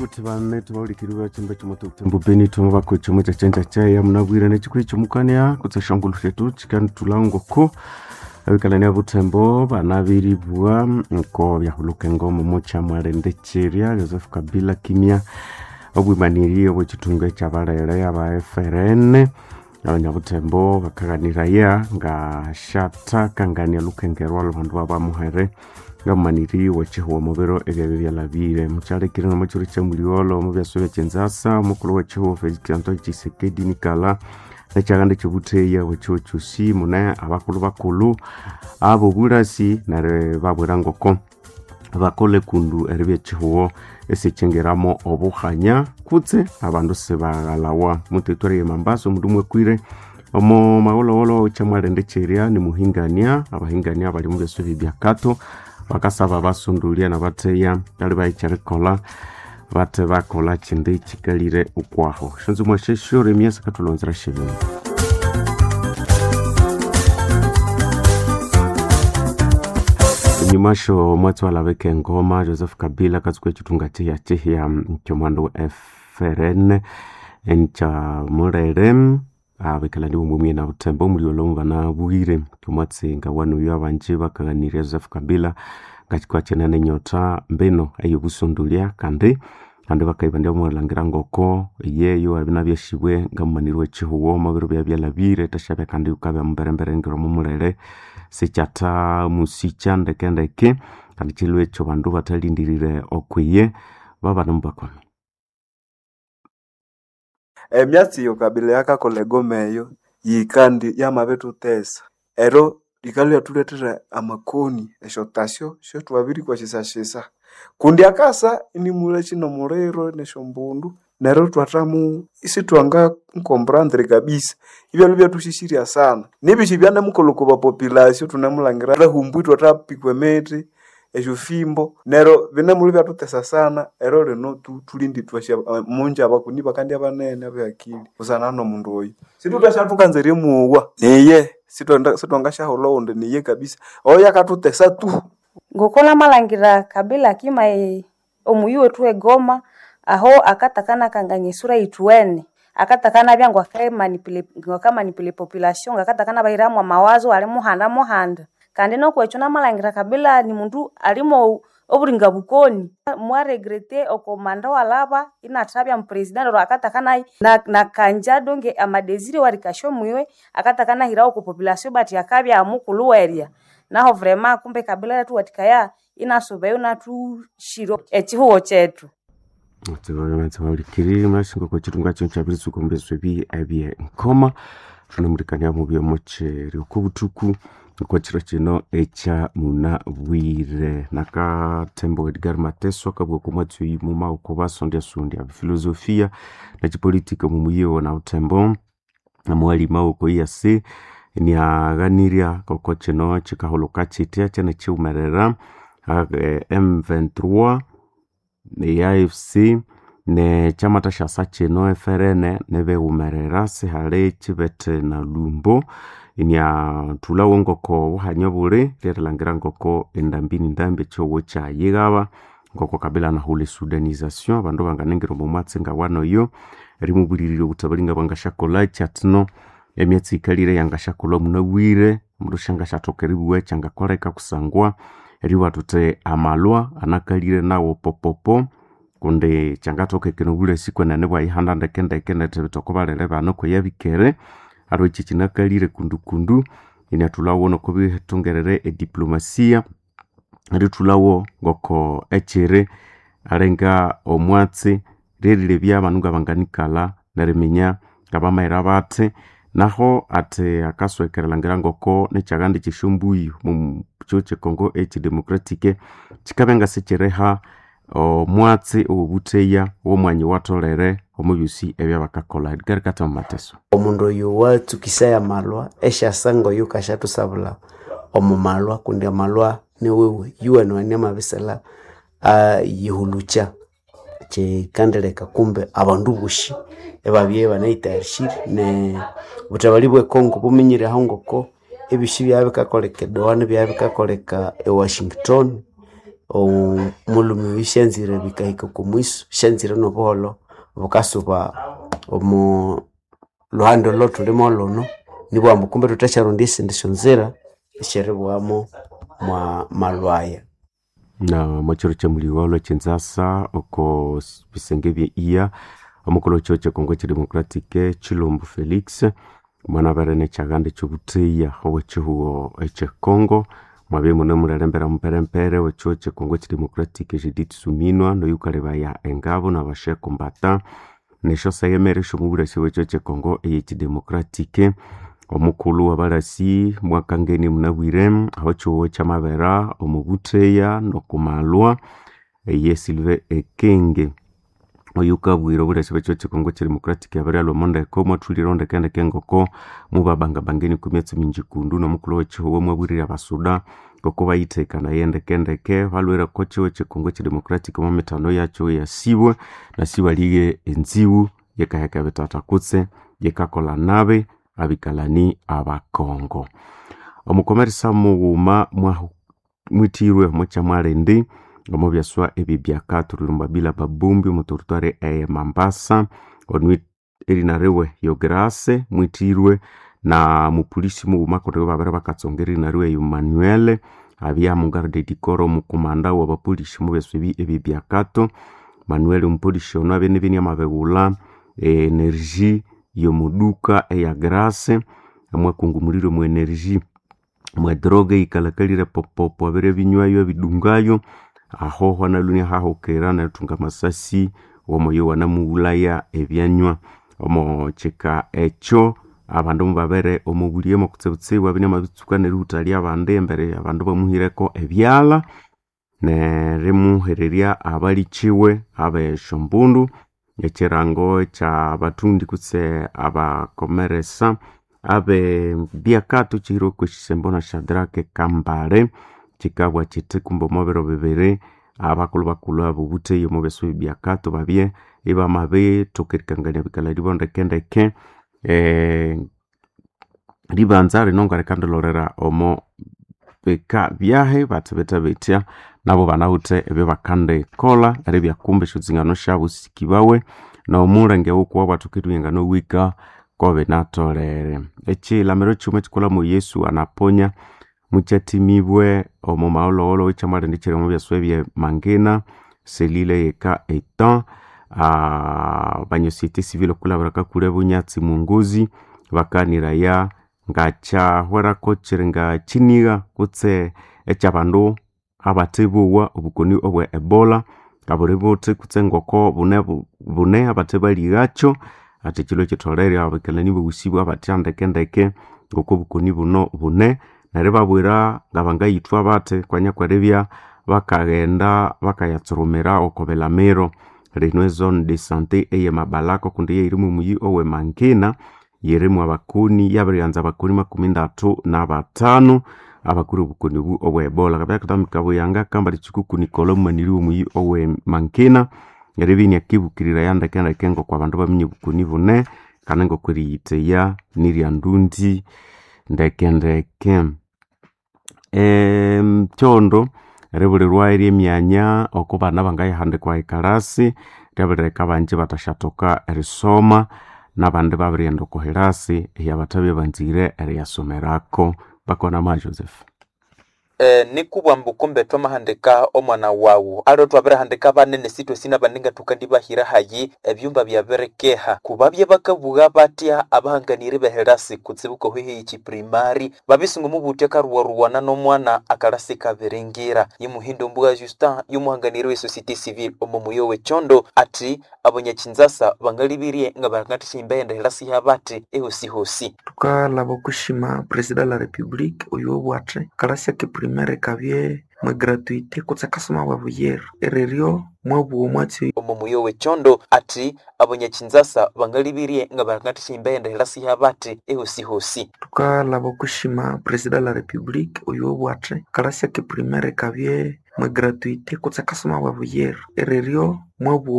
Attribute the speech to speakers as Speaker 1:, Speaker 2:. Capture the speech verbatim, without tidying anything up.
Speaker 1: Kuti bame tubaulikiriwa chimba chimoto kutembo beni tumu bako chomo cha chenja chaya munabwire nechikuri chomukania kutsa shongolo shetu chikani tulangoko abikalania butembo banabiribwa nko byahuluka engomo mocha mwalende chiria Joseph Kabila kimya obwimaniri obwechitunga ekyabalere aba F R N abanyabutembo bakaganiraya nga shatakangania lukengerwa lwabandu babamuhere ngamaniri wechihuwa mubiro ebyabyo byalabire mukyalekire nomukyiro kyamuliolo mubyaso byekyenzasa omukulhu wechihuwa Felix Antoine Tshisekedi nikala nekyaganda kyobutheya wechihuwa kyosi mune abakulhu bakulhu abobulasi neryo babwira ngoko bakole kundu eribya echihuwo esikyingiramo obuhanya kutse abandu sibaghalawa muteritwari ye Mambasa omundu mwekwire omo maghulhughulhu kyamwalende kyerya nimuhingania abahingania bali mubyaso ebibyakato bakasaba basundulia nabatheya bali bayikyerikolha bathe bakolha kyindi kyikalire ukwaho shonzo mwasheshure emyasa katulonzera shebini enyuma sho mwatsi walabeka engoma Joseph Kabila katsuka ekitunga kyihya kyihya kyomwandu wa F R N enkya mulere abikalani bomwe na butembo omuli banabwire omwatsi nga wanuyo abanji bakaghanirya Joseph Kabila ngakikwa kyenene enyota mbino eyobusundulia kandi kandi bakaibandya omwalhangira ngoko yeyo abinabyashibwe ngamumaniri wekihuwo omubiro byabyalabire tashabya kandi yukabya mumberembere ngiro mumulere sikyatha musikya ndekendeke kandi kilwe ekyo bandu bathalindirire okwiye babanemubakoni.
Speaker 2: Emyatsi iyo Kabila yakakolha egoma eyo yikandi yamabithutesa ero likalya lyathuletera amakoni esyotasyo syotwabirikwasisasisa kundi akasa inimulha nomuliro nesyombundu neryo ithwathamu isithwanga comprendre kabisa ibyalwa ibyathusyisirya sana nibisi byanemukolha okwa bapopulasyo thunemulhangira thwahumbwa ithwathapikwa emithi esyofimbo neryo binemulwa ibyathutesa sana ero lino thulindi ithwasya munja abakoni bakandya banene abehakili busana nomundu oyo sithuthasya erimuwa niye sithwangasyaghulha owundi niye kabisa oyo akathutesa tu.
Speaker 3: Ngoko namalhangira Kabila akima omuyi wethu wegoma aho akatakana esura yithuwene akatakana ngakamanipula epopulation ngakatakana bayiramu amawazo ali muhanda muhanda kandi nokwekyo namalhangira Kabila ni mundu alimo oburinga bukoni mwaregrete oko manda walaba inathabya mupresident neryo akatakana nakanja donge amadesire warikasya omwiwe akatakana hirawo oko population but akabya mukulhu werya naho vraiment kumbe Kabila yathuwathikaya inasubayo inathushira ekihugo kyethu.
Speaker 1: Tsebalikiri mashingo kwa chitunga chino chabiritsuka omubyeso ebi ebye nkoma thunemulikania mubyo mukyeri okobuthuku okwa kiro kino ekya munabwire nakathembo Edgar Mateso akabugha okwa mwatsi oyu muma oko basondyasondya filosofia nekipolitika omumuyiwo nabuthembo namuwalima oko E A C niaghanirya oko kino kikahulhuka kyitya kyene kyiwumerera M twenty-three ne A F C ne kyamathasya kino F R N nibighumerera sihali kibete na lumbo iniathulhawo ngoko obuhanya buli ryerilhangira ngoko endambi nindambi ekyihugho kyayighaba ngoko Kabila anahulha esudanisation abandu banganingira omo mwatsi ngawanoyo erimubulirira obuthabali ngabwangasyakolha kyathino emyatsi yikalire yangasyakolha munabwire omundu syangasyathoka eribugha ekyangakoleka kusangwa eribugha thuthi amalwa anakalire nawo popopo kundi kyangathokekana obulasi kwenene bwayihanda ndekendeke nerithibitha oko balere bano kweyabikere aliwe ekyi kyinakalire kundukundu iniathulhawo nokubithungerere ediplomasia erithulhawo ngoko ekyiri alinga omwatsi ryerilebya abandu ngabanganikalha neriminya ngabamayira bathi naho athi akasweka erilhangira ngoko nekyaganda kyesyombuyu omu kyihugho kye Congo ekyidemocratic kyikabya ngasikyiriha omwatsi owobutheya owomwanya owatholere omu byosi ebyabakakolha. Edgar Kathama Mateso.
Speaker 4: Omundu oyu watsukisaya amalwa esyasa ngoyu kasyathusabula omu malwa kundi amalwa niwiwe yuwene amabisela ayihulukya kyikandileka kumbe abandu bosi ibabya ibanayitayarishire ne obuthabali bwe Congo buminyire aho ngoko ebyosi byabya bikakoleka e Doha nibyabya bikakoleka e Washington Omulhume oyu syanzire bikahika oko mwiso, syanzire n'obuholho bukasuba omo lhuhandi olo thulimo lhuno, nibughambu ambu kumbe thuthasyaronda esindi syonzira esyeribughamu mwa malhwaya.
Speaker 1: Na mwachiro cha muligholho chinzasa oko s- bisenge bye iya omukulhu wekihugho kye Congo Democratic Chilombo Felix mwanabere nekyaganda ekyobutheya owekihugho ekye Congo mwabya imune mulelembera muperempere wekihugho kye Congo Democratic Judith Suminwa noyukalebaya engabo nabashe kombata nesyoseghemere esyomubulasi bwekihugho kye Congo eyekidemocratic. Omukulhu wabalasi mwakangenie munabwire aho ekihugho kyamabera omubutheya nokumalwa eye Sylvain Ekenge oyukabwira obulasi bwekihugho kye Congo Democratic abiryalhwa omondeko mwathulire ndekendeke ngoko mubabangabangenie okwa myatsi mingi kundu nomukulhu wekihugho mwabwirire abasuda ngoko bayithekanaye ndekendeke balhwire oko kihugho kye Congo Democratic omo mithano yakyo eyasibwe nasibalighe enzibu yikaheka ebitata kutse yikakolha nabi abikalani abakongo. Omukomeresa mughuma mwahu mwithirwe omo kyamwalindi omo byaswa ebibyaka thulilomba bila babumbi omo territoire eye Mambasa onu erina riwe Yograse mwithirwe na mupolisi mughuma kundi babere bakatsonga erina riwe Emmanuel abya mugarde du corps omukumanda wabapolisi omo byaswa ebi ebibyakato. Manuel omupolisi ono abya inibya inamabighulha energy yomuduka eya Grace mwakungumulire omu energy mwe droga eyikalakalire popopo abere binywayo abidungayo aho hwanalwe inahahukira nerithunga amasasi owomoyo wanamughulhaya ebyanywa. Omo kika ekyo abandu mubabere omobulye mokutsibutsibu abya inamabitsuka nerihuthalya abandi embere abandu bamuhireko ebyalha nerimuhererya abalikiwe abesyombundu ekirango ekyabathundi kutse abakomeresa abe byakato kihirwe okwa na Shadrack Kambale kikabugha kithi kumbe omo biro bibiri abakulhu bakulhu abobutheya omo byaswa ebibyakato babye ibamabithoka erikangania ebikalani ndekendeke. Ribanza rino ngalikandilholera omo bika byahi bathi bethe bethya nabo banawithe ebyabakandikolha eribya kumbe esyotsingano syabu sikibawe nomulenge wukuwa bwathoka eribya nganawika kobinatholere. Ekilamiro kighuma ekikolhamo Yesu anaponya mukyathimibwe omo magholhogholho ekyamwalindi kiri omo byaswa ebye Mangina selile eyeka etan abanya société civile okwilhabira kakule bunyatsi mwongozi bakaniraya ngakyahwerako kiri ngakyinigha kutse ekyabandu abathebowa obukoni obwe Ebola ngabuli buthi kutse ngoko bune bune abathe balighakyo athi kyilwe kyitholere abikalani bosi abathya ndekendeke ngoko obukoni buno bune neryo ibabwira ngabangayithwa bathi kwanya kweribya bakaghenda bakayatsurumira oko bilamiro. Lino ezone de sante eye Mabalako kundi yeyiri mwomuyi owe Mangina yirimu abakoni yabirighanza abakoni makumi ndatu nabathanu abakure obukoni obu obwe Ebola. Kabya kathambika buyanga kambali kikuku Nicola omumaniri womuyi owe Mangina eribya iniakibukirira ndekendeke ngoko abandu baminya obukoni bune kandi ngoko eriyitheya niryandundi ndekendeke. Ekyondo eribulirwa eryemyanya oko bana bangayahandikwa ekalasi lyabirileka abangi bathasyathoka erisoma nabandi babirighenda oko hilasi eyabathabya banzire eriyasomerako. Bakonama Joseph.
Speaker 5: Eh, nikubwa mbu kumbe twamahandika omwana wawu aliwe twabirihandika banene sitwe nabandi nga tukandibahira hayi ebyumba byabirikeha kubabye bakabugha batya abahanganiri behelasi kutsibuka hweheyi chiprimari babisunga mubutya karuwaruwana n'omwana akalasi kabiringira yimuhindo mbuga Justin yumuhanganiri we société civile omo muyo w'ekyondo ati abanyachinzasa bangalibirie nga bangatishimba enda helasi yabati ehosihosi
Speaker 6: Tukalaba okushima president la republique oyo obwathe kalasi ake primaire kabye mwe gratuité kutse akasoma bwa buyere ereryo mwabugha omwatsi
Speaker 5: omo muyo w'ekyondo ati abanyachinzasa bangalibirie nga bangatishimba enda helasi yabati ehosihosi
Speaker 6: Tukalaba okushima president la republique oyo obwathe kalasi ake primaire kabye mwe gratuité kutse akasoma bwa buyere ereryo mwabugha